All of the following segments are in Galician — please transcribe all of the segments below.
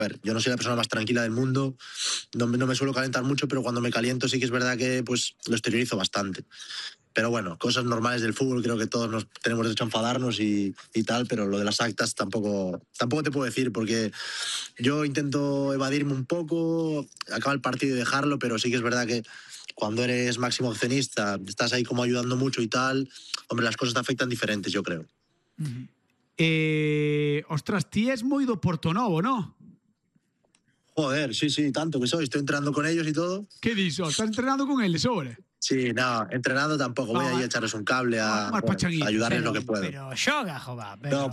ver, yo no soy la persona más tranquila del mundo, no me suelo calentar mucho, pero cuando me caliento sí que es verdad que pues lo exteriorizo bastante. Pero bueno, cosas normales del fútbol, creo que todos nos tenemos derecho a enfadarnos y tal, pero lo de las actas tampoco te puedo decir, porque yo intento evadirme un poco, acaba el partido y dejarlo, pero sí que es verdad que cuando eres máximo accionista, estás ahí como ayudando mucho y tal, hombre, las cosas te afectan diferentes, yo creo. Ostras, ti es moi do Portonovo, ¿no? Joder, sí, tanto que soy, estoy entrenando con ellos y todo. ¿Qué dices? ¿Estás entrenando con él, sobre? Sí, no, entrenando tampoco, voy ahí a echarles un cable, a ayudarles lo que puedo. Pero xoga, jova. No,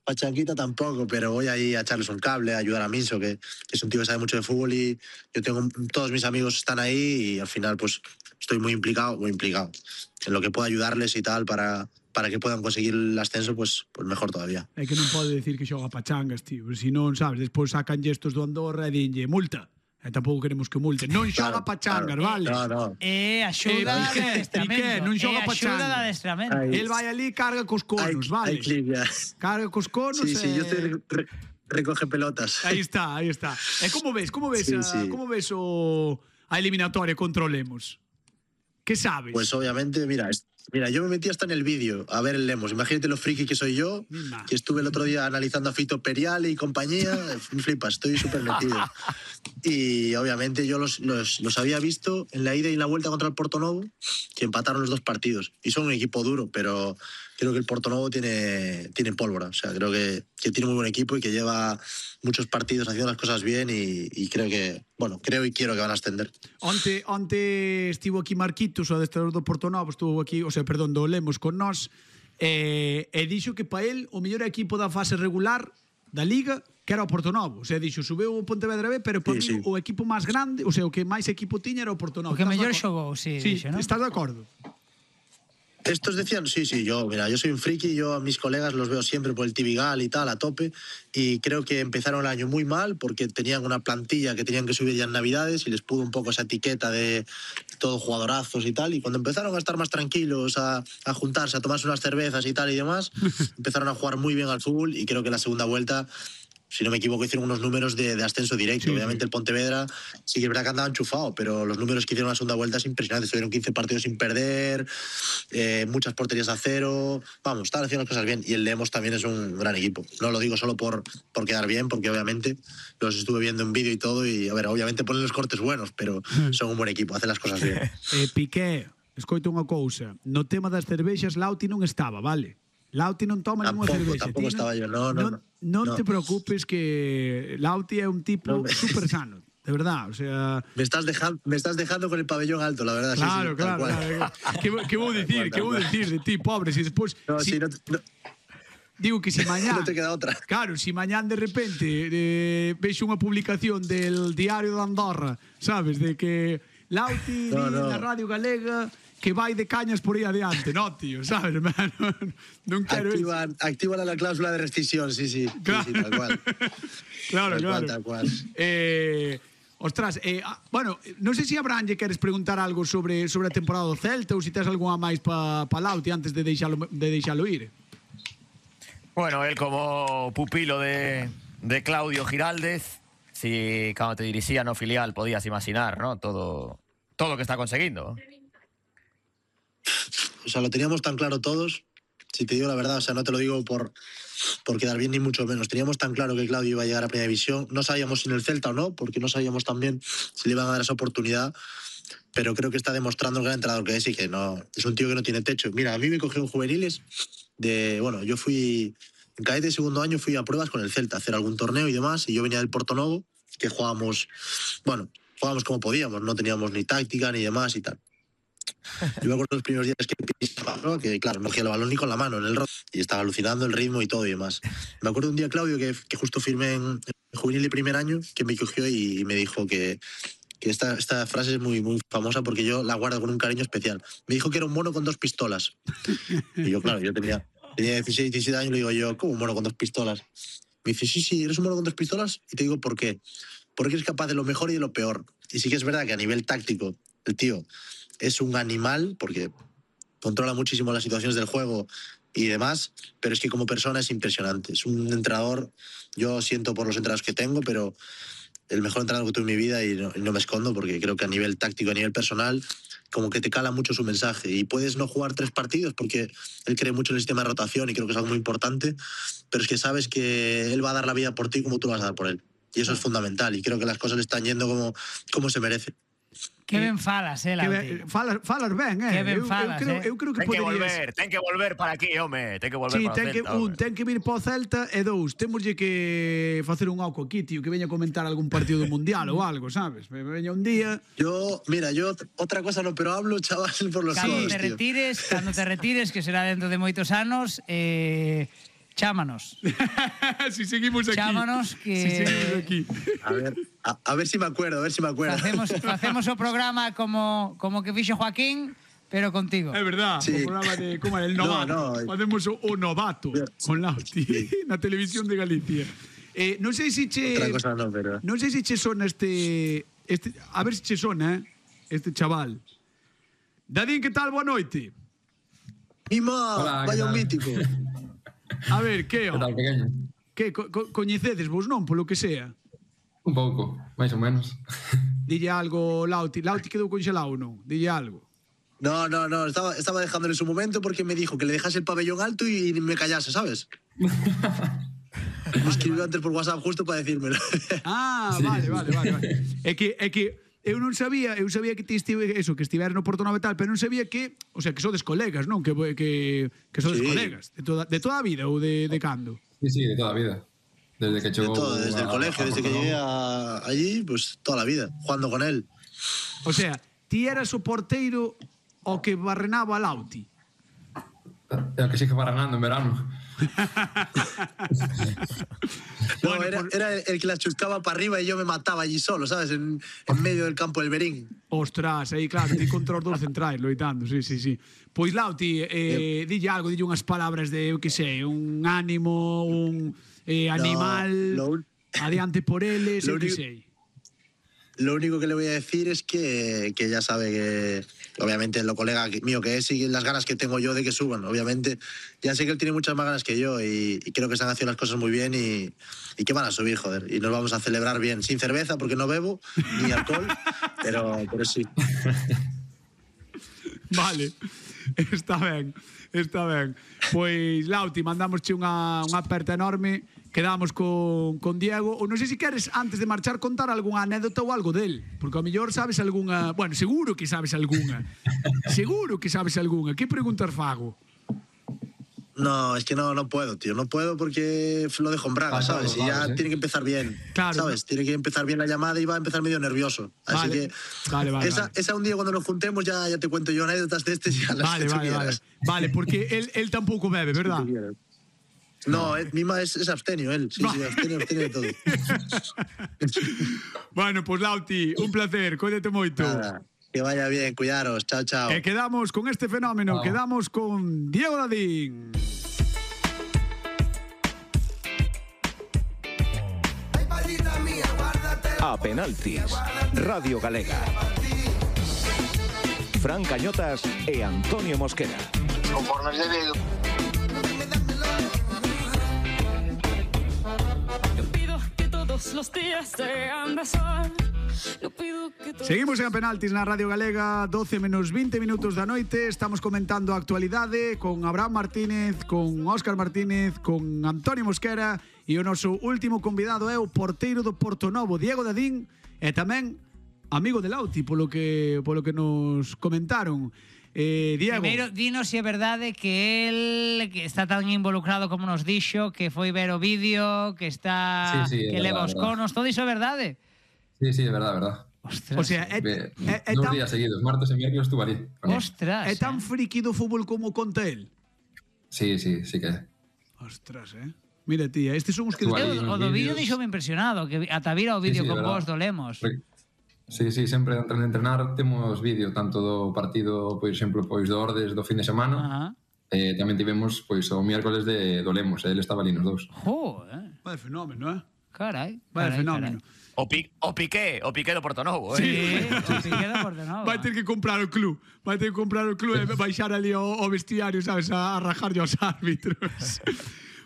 pachanguita tampoco, pero voy ahí a echarles un cable, a ayudar a Minso, que es un tío que sabe mucho de fútbol y yo tengo, todos mis amigos están ahí y al final pues estoy muy implicado en lo que puedo ayudarles y tal para que puedan conseguir el ascenso, pues mejor todavía. É que non pode decir que xoga pachangas, tío, se non, sabes, despois sacan estos do Andorra e dinlle multa. E tampouco queremos que multen. Non xoga pachangas, vale? No. Axuda de adestramento. Non xoga Axuda de pachangas. adestramento. El vai ali, carga cos conos, vale? Hay clip ya. Carga cos conos Sí, yo estoy recoge pelotas. Aí está. E como ves a eliminatoria contra o Lemos? Que sabes? Pues obviamente, mira, yo me metí hasta en el vídeo a ver el Lemos. Imagínate lo friki que soy yo, que estuve el otro día analizando a Fito Periale y compañía. Flipas, estoy súper metido. Y obviamente yo los había visto en la ida y en la vuelta contra el Portonovo, que empataron los dos partidos. Y son un equipo duro, pero creo que el Portonovo tiene pólvora. O sea, creo que tiene muy buen equipo y que lleva muchos partidos haciendo las cosas bien y creo y quiero que van a ascender. Onte estivo aquí Marquitos, o adestrador do Portonovo, estuvo aquí, do Lemos con nós, e dixo que para el o mellor equipo da fase regular da Liga que era o Portonovo. O sea, dixo, subeu o Pontevedra B, pero para mí o equipo máis grande, o sea, o que máis equipo tiña era o Portonovo. O que mellor xogou, sí, dixo, ¿no? Estás de acordo? Estos decían, sí, yo soy un friki, yo a mis colegas los veo siempre por el Tibigal y tal, a tope, y creo que empezaron el año muy mal porque tenían una plantilla que tenían que subir ya en Navidades y les pudo un poco esa etiqueta de todos jugadorazos y tal, y cuando empezaron a estar más tranquilos, a juntarse, a tomarse unas cervezas y tal y demás, empezaron a jugar muy bien al fútbol y creo que la segunda vuelta, si no me equivoco, hicieron unos números de ascenso directo. Sí, obviamente el Pontevedra sí que es verdad que andaba enchufado, pero los números que hicieron en la segunda vuelta es impresionante. Estuvieron 15 partidos sin perder, muchas porterías a cero. Vamos, estaban haciendo las cosas bien. Y el Lemos también es un gran equipo. No lo digo solo por quedar bien, porque obviamente los estuve viendo en vídeo y todo. Y a ver, obviamente ponen los cortes buenos, pero son un buen equipo, hacen las cosas bien. Piqué, escoito unha cousa. No tema das cervexas, Lauti non estaba, vale? Lauti non toma ninguna cervexa. Tampouco estaba yo, non te preocupes, que Lauti é un tipo super sano, de verdad, o sea... Me estás dejando con el pabellón alto, la verdad. Claro, sí, claro. Que vou dicir de ti, pobre, si despois... Digo que si mañán... No te queda otra. Claro, si mañán de repente veixo unha publicación del Diario de Andorra, sabes, de que Lauti na Radio Galega... que vai de cañas por aí adiante, no, tío, sabes? Non quero activan la cláusula de rescisión, sí, claro. Sí, tal cual. Claro. Tal cual. Ostras, bueno, non sei se Abraham lle queres preguntar algo sobre a temporada do Celta ou se tes algunha máis pa Lauti antes de deixalo ir. Bueno, él como pupilo de Claudio Giraldez, si cando te dirixía no filial podías imaginar, ¿no? Todo lo que está conseguindo. O sea, lo teníamos tan claro todos, si te digo la verdad, o sea, no te lo digo por quedar bien ni mucho menos. Teníamos tan claro que Claudio iba a llegar a Primera División. No sabíamos si en el Celta o no, porque no sabíamos también si le iban a dar esa oportunidad, pero creo que está demostrando el gran entrenador que es y que no es un tío que no tiene techo. Mira, a mí me cogió en juveniles yo fui en cadete de segundo año, fui a pruebas con el Celta, a hacer algún torneo y demás, y yo venía del Portonovo, que jugábamos como podíamos, no teníamos ni táctica ni demás y tal. Yo me acuerdo los primeros días que pisaba, ¿no? Que claro, no cogía el balón ni con la mano en el rock y estaba alucinando el ritmo y todo y demás. Me acuerdo un día, Claudio, que justo firmé en juvenil de primer año, que me cogió y me dijo que esta frase es muy, muy famosa porque yo la guardo con un cariño especial. Me dijo que era un mono con 2 pistolas. Y yo, claro, yo tenía 16, 17 años y le digo yo, ¿cómo un mono con 2 pistolas? Me dice, sí, eres un mono con 2 pistolas y te digo ¿por qué? Porque eres capaz de lo mejor y de lo peor. Y sí que es verdad que a nivel táctico el tío es un animal porque controla muchísimo las situaciones del juego y demás, pero es que como persona es impresionante. Es un entrenador, yo siento por los entrenadores que tengo, pero el mejor entrenador que tuve en mi vida y no me escondo porque creo que a nivel táctico, a nivel personal, como que te cala mucho su mensaje y puedes no jugar 3 partidos porque él cree mucho en el sistema de rotación y creo que es algo muy importante, pero es que sabes que él va a dar la vida por ti como tú vas a dar por él. Y eso es fundamental y creo que las cosas le están yendo como se merece. Que ben falas, Lauti. Falas ben, Que ben falas, eu creo que poderías... Ten que volver para aquí, home. Ten que volver para o Celta. Ten que vir para o Celta e 2, temoslle que facer un oco aquí, tío, que veña a comentar algún partido do Mundial ou algo, sabes? Me veña un día... Yo otra cosa no, pero hablo, chaval, por los Cando codos, cando te retires, que será dentro de moitos anos, chámanos. Si seguimos aquí. Chámanos que... Si seguimos aquí. A ver si me acuerdo, Facemos o programa como que fixo Joaquín, pero contigo. É verdad, sí. o programa de como el novato. Facemos o novato con Lauti na televisión de Galicia. Non sei se che... Otra cosa no, pero... Non sei se che sona este... A ver se che sona, este chaval. Dadín, que tal? Boa noite. Mima, vaya un mítico. A ver, que Que tal, pequeño? Que coñecedes vos, non? Polo que sea. Un pouco, máis ou menos. Dille algo, Lauti. Lauti quedou conxelado, non? Dille algo. No, estaba dejándole su momento porque me dijo que le dejase el pabellón alto y me callase, ¿sabes? Me escribió antes por WhatsApp justo para decírmelo. Sí. Vale. É que eu non sabía, que ti estiver no Porto Nove tal, pero non sabía que, o sea, que sodes colegas, non? Que sodes colegas de toda a vida ou de cando? Sí, de toda a vida. Desde que chegou... Desde el colegio, desde que llegué allí, pues toda la vida, jugando con él. O sea, ti eras o porteiro o que barrenaba a Lauti. É o que sigue barrenando en verano. No, era el que la chuscaba para arriba y yo me mataba allí solo, ¿sabes? En medio del campo del Berín. Ostras, aí claro, ti contra os dous centrais loitando, sí. Pois Lauti, dille algo, dille unhas palabras de, eu que sei, un ánimo, un animal, adiante por eles, eu que sei. Lo único que le voy a decir es que ya sabe que, obviamente, lo colega mío que es y las ganas que tengo yo de que suban. Obviamente, ya sé que él tiene muchas más ganas que yo y creo que se han hecho las cosas muy bien y que van a subir, joder. Y nos vamos a celebrar bien, sin cerveza, porque no bebo, ni alcohol, pero sí. Vale, está ben. Pois, Lauti, mandamosche unha aperta enorme. Quedamos con Diego. Ou non sei se queres, antes de marchar, contar algunha anécdota ou algo del. Porque ao mellor sabes algunha... Bueno, seguro que sabes algunha. Que preguntas fago? No, es que no puedo, tío. No puedo porque lo dejo en braga, ¿sabes? Y ya tiene que empezar bien, ¿sabes? Tiene que empezar bien la llamada y va a empezar medio nervioso. Así que vale. Esa un día cuando nos juntemos ya te cuento yo anécdotas de y ya las quieras. Vale, porque él tampouco bebe, ¿verdad? No, Mima es abstenio, él. Sí, abstenio de todo. Bueno, pues Lauti, un placer, cóidate moito. Nada, que vaya bien, cuidaros, chao. E quedamos con este fenómeno, quedamos con Diego Dadín. A penaltis, Radio Galega. Fran Cañotas e Antonio Mosquera. Conforme se ve. Los días sean de sol. Seguimos en Penaltis na Radio Galega, 12 menos 20 minutos da noite. Estamos comentando a actualidade con Abraham Martínez, con Óscar Martínez, con Antonio Mosquera, e o noso último convidado é o porteiro do Portonovo, Diego Dadín, e tamén amigo de Lauti, polo que nos comentaron. Diego. Primeiro, dinos se é verdade que el que está tan involucrado como nos dixo, que foi ver o vídeo, que está que leva os conos, todo iso é verdade? Sí, é verdade. Ostras. O sea, dos días seguidos, martes e miércoles estuve ali. Ostras. É tan friki do fútbol como conta el? Sí que é. Ostras, Mira, tía, estes son os que... O do vídeo deixoume impresionado, que ata vira o vídeo con vos do Lemos. Sí, sempre antes de entrenar temos vídeo tanto do partido, por exemplo, do Ordes do fin de semana. Tamén tivemos o miércoles do Lemos, ele estaba ali nos dous. Vale, fenómeno, Carai. Vaya fenómeno. O Piqué do Portonovo, Sí, o Piqué do Portonovo. Vai ter que comprar o club. Vai ter que comprar o club e baixar ali o vestiario, sabes, a rajarlle aos árbitros.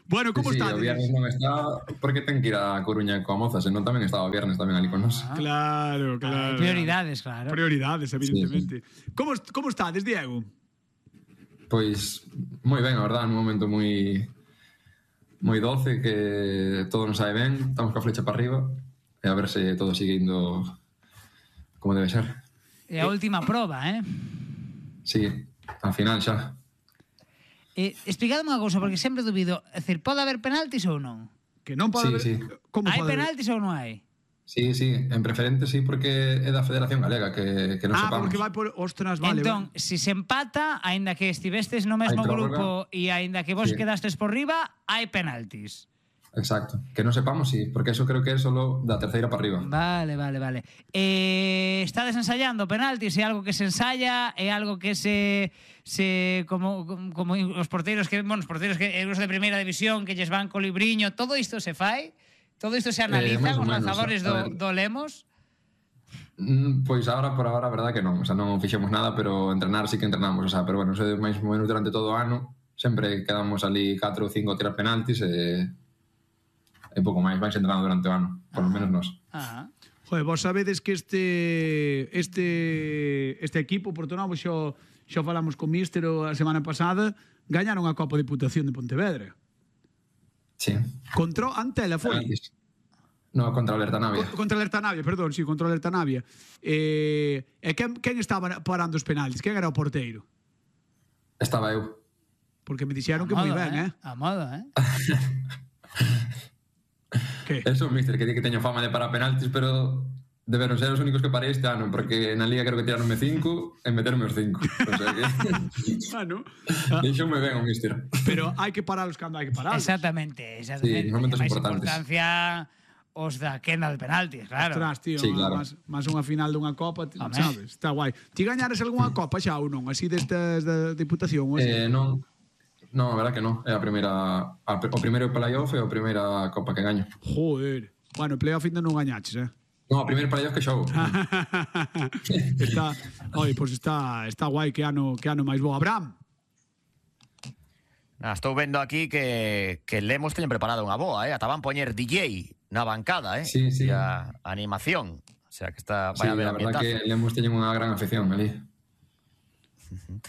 Bueno, como está? O viernes non está porque ten que ir a Coruña coa moza, senón tamén estaba o viernes tamén ali con nós. Claro. Prioridades, claro. Prioridades, evidentemente. Sí. Como está, Diego? Pois moi ben, a verdad, nun momento moi doce, que todo nos sae ben, estamos coa flecha para arriba e a ver se todo sigue indo como debe ser. E a última proba, Sí, al final xa. Explicadme unha cousa, porque sempre dubido. É dicir, pode haber penaltis ou non? Que non pode haber... Sí. Como hai penaltis ou non hai? Sí, en preferente sí, porque é da Federación Galega, que non sepamos. Porque vai por... Ostras, vale. Entón, si se empata, aínda que estivestes no mesmo grupo e aínda que vos quedastes por riba, hai penaltis. Exacto. Que non sepamos, sí, porque eso creo que é solo da terceira para arriba. Vale. Estades ensayando penaltis? É algo que se ensaya? É algo que se como os porteiros que, os porteiros que os de primeira división que lles van co libriño, todo isto se fai? Todo isto se analiza os lanzadores do Lemos? Pois por agora a verdade que non, o sea, non fixemos nada, pero entrenar sí que entrenamos, o sea, pero bueno, máis ou menos durante todo o ano sempre quedamos ali 4 ou 5 a tirar penaltis e pouco máis, vais entrenando durante o ano, por lo menos nós. Joder, vos sabedes que este equipo Portonovo xa falamos con Míster a semana pasada, gañaron a Copa Diputación de Pontevedra. Sí. Contra Antela foi? No, contra o Alerta Navia. Contra o Alerta Navia, perdón, sí, contra o Alerta Navia. E quen estaba parando os penaltis? Quen era o porteiro? Estaba eu. Porque me dixeron que moi ben, A moda, Que? Eso, mister, que di que teño fama de parar penaltis, pero deberon ser os únicos que parei este ano, porque na Liga creo que tiraronme 5 e meterme os 5. O sea que... Deixoume ben o mister. Pero hai que pararlos cando hai que pararlos. Exactamente. Sí, en momentos importantes. Importancia os da quenda de penaltis, claro. Ostras, tío, sí, claro. Más unha final dunha Copa, sabes? Está guai. Ti gañares algunha Copa xa ou non? Así destas da Diputación? Non, a verdad que non. É a primeira... O primeiro playoff e a primeira Copa que gaño. Joder. Bueno, playoff ainda non gañaches, Non, o primeiro playoff que xogo. Está guai, que ano máis bo. Abraham. Estou vendo aquí que Lemos teñen preparado unha boa, Ata van poñer DJ na bancada, Sí. E a animación. O sea, que está... Sí, a verdad que Lemos teñen unha gran afición ali.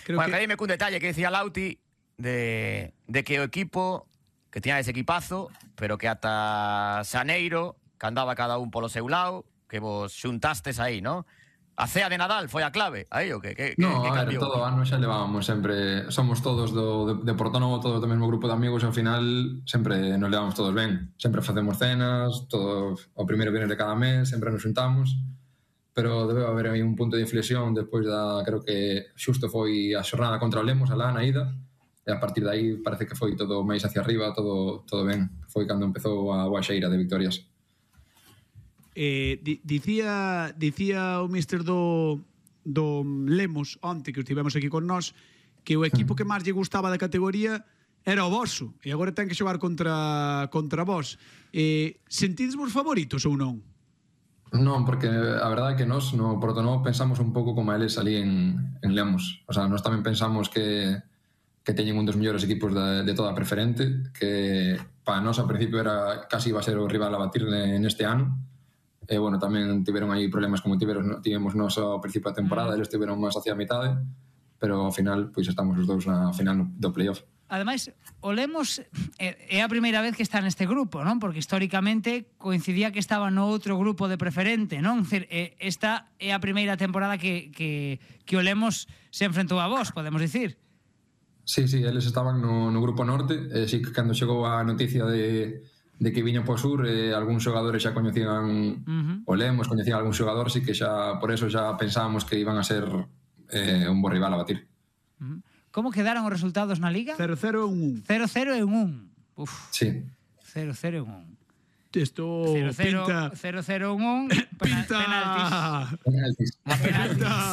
Bueno, que dime cun detalle que decía Lauti de que o equipo que tiña ese equipazo, pero que ata xaneiro, que andaba cada un polo seu lado, que vos xuntastes aí, ¿no? A cea de Nadal foi a clave, aí o que No, a ver, cambiou? todo o ano xa levábamos sempre, somos todos de Portonovo, todos do mesmo grupo de amigos, e ao final sempre nos levamos todos ben, sempre facemos cenas, todo o primeiro viernes de cada mes, sempre nos xuntamos, pero debe haber aí un punto de inflexión despois creo que xusto foi a xornada contra o Lemos, alá na ida, e a partir de aí parece que foi todo máis hacia arriba, todo ben, foi cando empezou a boa xeira de victorias. Dicía o míster do Lemos onte que estivemos aquí con nós que o equipo que máis lle gustaba da categoría era o voso e agora ten que xogar contra vos. Sentides vos favoritos ou non? Non, porque a verdade é que nós no Portonovo pensamos un pouco como eles ali en Lemos, o sea, nós tamén pensamos que teñen un dos mellores equipos de toda a preferente, que para nós ao principio casi iba a ser o rival a batir neste ano. E, bueno, tamén tiveron aí problemas como tivemos nós ao principio da temporada, eles tiveron máis hacia a mitade, pero ao final, pois estamos os dous na final do playoff. Ademais, o Lemos é a primeira vez que está neste grupo, non? Porque históricamente coincidía que estaba no outro grupo de preferente, non? Esta é a primeira temporada que o Lemos se enfrentou a vos, podemos dicir. Sí, eles estaban no grupo norte, e sí que cando chegou a noticia de que viñan por sur, algúns xogadores xa coñecían o Lemos, coñecían algún xogador, sí que xa por eso xa pensábamos que iban a ser un bo rival a batir. Como quedaron os resultados na Liga? 0-0 e 1-1. 0-0 e 1-1. Sí. 0-0 e 1-1. Esto pinta... 0-0 1 Penaltis. Pinta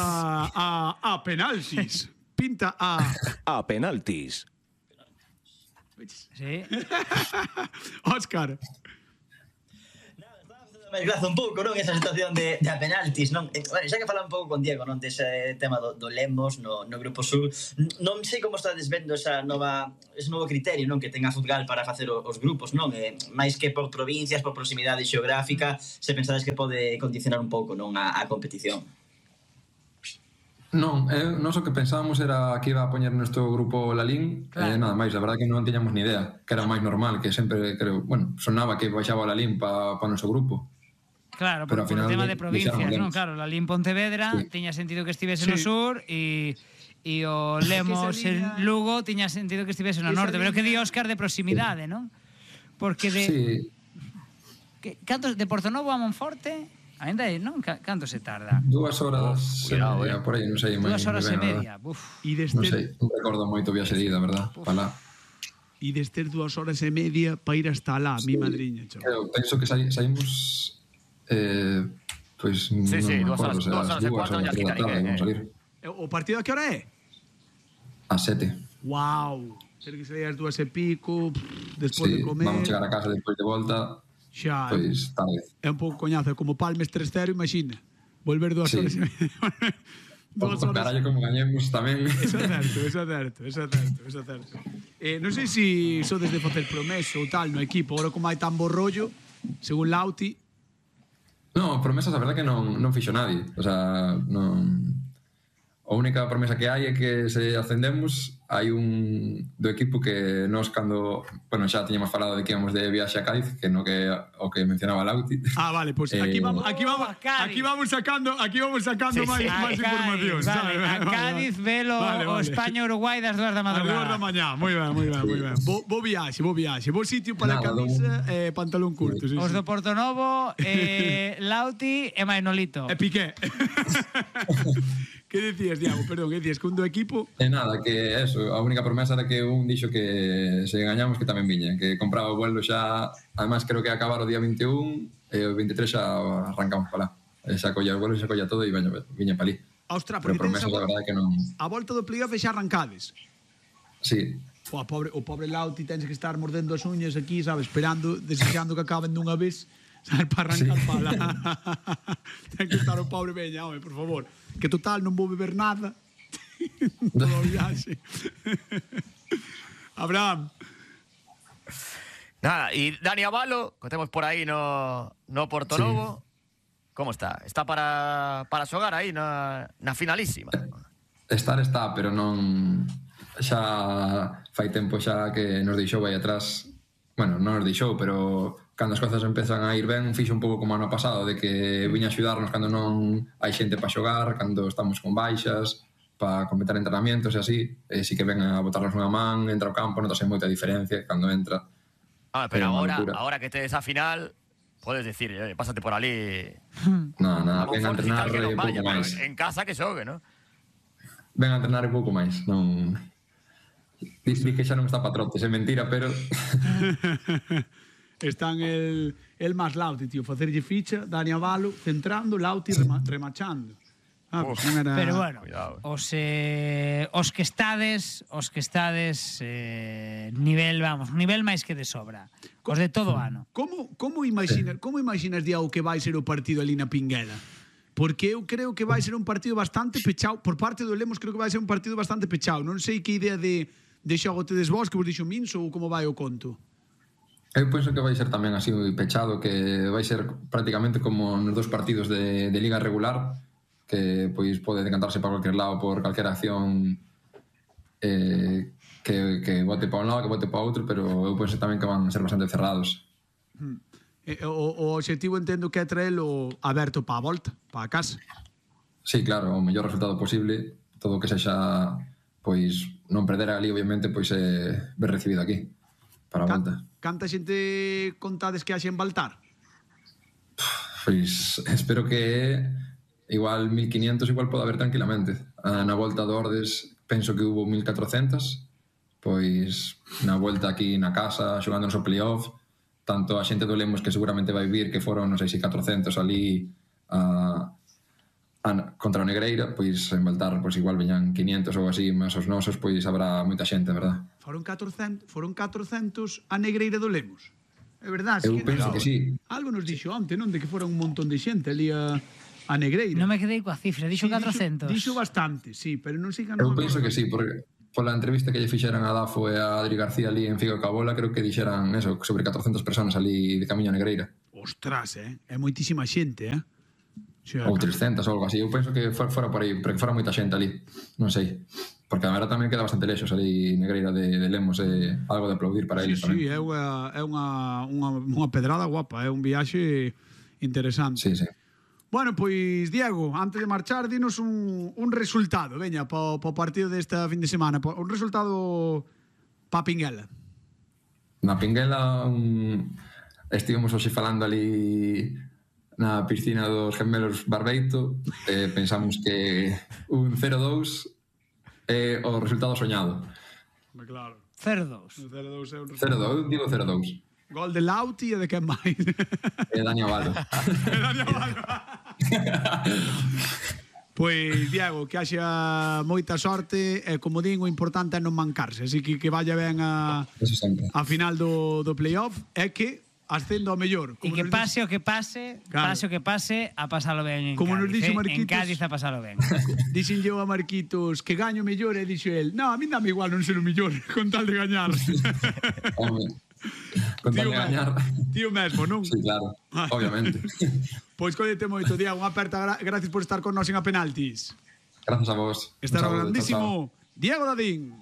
a penaltis. Pinta a penaltis. Sí. Óscar. máis graza un pouco, non? Esa situación de a penaltis, non? Bueno, xa que falaba un pouco con Diego, non? Dese tema do Lemos no Grupo Sur. Non sei como estades vendo ese novo criterio, non? Que ten a Futgal para facer os grupos, non? Mais que por provincias, por proximidade xeográfica, se pensades que pode condicionar un pouco, non? A competición. Non, nós o que pensábamos era que iba a poñer nuestro grupo Lalín, nada máis, a verdade que non tiñamos ni idea, que era máis normal, que sempre, creo, bueno, sonaba que baixaba o Lalín para o noso grupo. Claro, por o tema de provincias, non? Claro, Lalín Pontevedra tiña sentido que estivese no sur e o Lemos en Lugo tiña sentido que estivese no norte, pero que di Óscar de proximidade, non? Porque de... Cantos de Portonovo a Monforte... Ainda aí, non? Canto se tarda? 2 horas e media, por aí, non sei. 2 horas e media, non sei, non recordo moito o viaxe de ida, verdad? Para lá. E destes 2 horas e media para ir hasta lá, mi madriña, chaval. Eu penso que saímos pois non me acordo, se as 2 horas da tarde vamos salir. O partido a que hora é? A 7. Wow, ter que salir as 2 e pico, despois de comer. Vamos chegar a casa despois de volta. Xa, pois tarde. É un pouco coñazo, como Palmes 3-0, imagina. Volver 2 horas e media. 2 horas. Carallo, como gañemos tamén. Eso é certo. Non sei se sodes de facer promesa ou tal no equipo, agora como hai tan bo rollo, según Lauti. Non, promesas a verdade que non fixo nadie. O sea, non... A única promesa que hai é que se ascendemos, hai un do equipo que nós cando, bueno, xa tiñamos falado de que íamos de viaxe a Cádiz, que no que o que mencionaba Lauti. Vale, pues aquí vamos sacando máis información, vale, a Cádiz velo o España-Uruguai das 2 da madrugada. A 2 da mañá, moi ben. Bo viaxe, bo sitio para a camisa e pantalón curto. Os do Portonovo, Lauti e Manolito. E Piqué. Que decías, Diago? Perdón, que decías que un do equipo... Nada, que eso, a única promesa era que un dixo que se gañamos que tamén viña, que compraba o vuelo xa, además creo que acabar o día 21 e o 23 xa arrancamos para lá. Xa colla o vuelo, xa colla todo e viña para ali. Ostras, pero promesa da verdade que non... A volta do playoff xa arrancades. Sí. O pobre Lauti tens que estar mordendo as uñas aquí, sabes, esperando, desexando que acaben dunha vez, sabes, para arrancar para lá. Ten que estar o pobre veña, home, por favor. Que total non vou beber nada. Todo o viaxe. Abraham. Nada, e Dani Avalo, que temos por aí no Portonovo, como está? Está para xogar aí na finalísima? Está, pero non... Xa fai tempo xa que nos deixou aí atrás. Bueno, non nos deixou, pero cando as cousas empezan a ir ben, fixo un pouco como ano pasado, de que viña a axudarnos cando non hai xente para xogar, cando estamos con baixas, para completar entrenamientos e así, e si que ven a botarnos unha man, entra ao campo, notase moita diferencia cando entra. Pero agora que tedes a final, podes decir, pásate por ali. Nada, ven a entrenar e pouco máis. En casa que xogue, non? Ven a entrenar e pouco máis, non... Diz que xa non está para trotes, é mentira, pero... Están el máis Lauti, tío, facerlle ficha, Dani Avalo, centrando, Lauti remachando. Pues era... Pero bueno, os que estades nivel máis que de sobra. Os de todo ano. Como imaginas, Diago, que vai ser o partido ali na Pinguela? Porque eu creo que vai ser un partido bastante pechado. Por parte do Lemos creo que vai ser un partido bastante pechado. Non sei que idea de xogo tedes vos, que vos dixo Minso, ou como vai o conto. Eu penso que vai ser tamén así pechado, que vai ser prácticamente como nos 2 partidos de liga regular, que pois pode decantarse para cualquier lado por calquera acción que bote para un lado, que bote para outro, pero eu penso tamén que van a ser bastante cerrados. O obxectivo entendo que é traelo aberto para a volta, para a casa. Sí, claro, o mellor resultado posible, todo o que sexa pois non perder ali, obviamente, pois ver recibido aquí para a volta. Canta xente contades que haxe en Baltar? Pois espero que igual 1500 igual pode haber tranquilamente. Na volta do Ordes penso que hubo 1400, pois na volta aquí na casa xogando no playoff, tanto a xente do Lemos que seguramente vai vir, que foron, non sei se 400 ali contra o Negreira, pois en Baltar pois igual veñan 500 ou así, mas os nosos pois habrá moita xente, verdad? Foron 400 a Negreira do Lemos? É verdade. Eu penso que sí. Algo nos dixo onte, non? De que fora un montón de xente ali a Negreira. Non me quedei coa cifra, dixo Sí, 400. Dixo bastante, sí, pero non sei que Eu penso que sí, porque pola entrevista que lle fixeran a Dafo e a Adri García ali en Figo Cabola, creo que dixeran eso, sobre 400 personas ali de camiño a Negreira. Ostras, é moitísima xente, O sea, Ou 300 ou algo así. Eu penso que fora por aí, pero que fora moita xente ali. Non sei. Porque a verdade tamén queda bastante lexos ali Negreira de Lemos, algo de aplaudir para eles tamén. Sí, é unha pedrada guapa, é un viaxe interesante. Sí, sí. Bueno, pois, Diego, antes de marchar, dinos un resultado, veña, po partido desta fin de semana. Un resultado pa Pinguela. Na Pinguela estivemos hoxe falando ali na piscina dos gemelos Barbeito, pensamos que un 0-2 é o resultado soñado. Claro. 0-2. 0-2, digo 0-2. Gol de Lauti e de quen máis? Dani Avalo. Pois, Diego, que haxa moita sorte e, como din, o importante é non mancarse, así que vaya ben a final do playoff e que ascendo ao mellor. E que pase o que pase, claro. pase o que pase, a pasalo ben en como Cádiz. Nos dixo Marquitos, en Cádiz a pasalo ben. Dixen yo a Marquitos que gaño mellor e dixo el, no, a mí dame igual non ser o mellor con tal de gañar. Con tal de gañar. Tío mesmo, non? Sí, claro, obviamente. Pois collete moito, Diego, unha aperta, gracias por estar con nós en A Penaltis. Gracias a vos. Estará grandísimo Diego Dadín.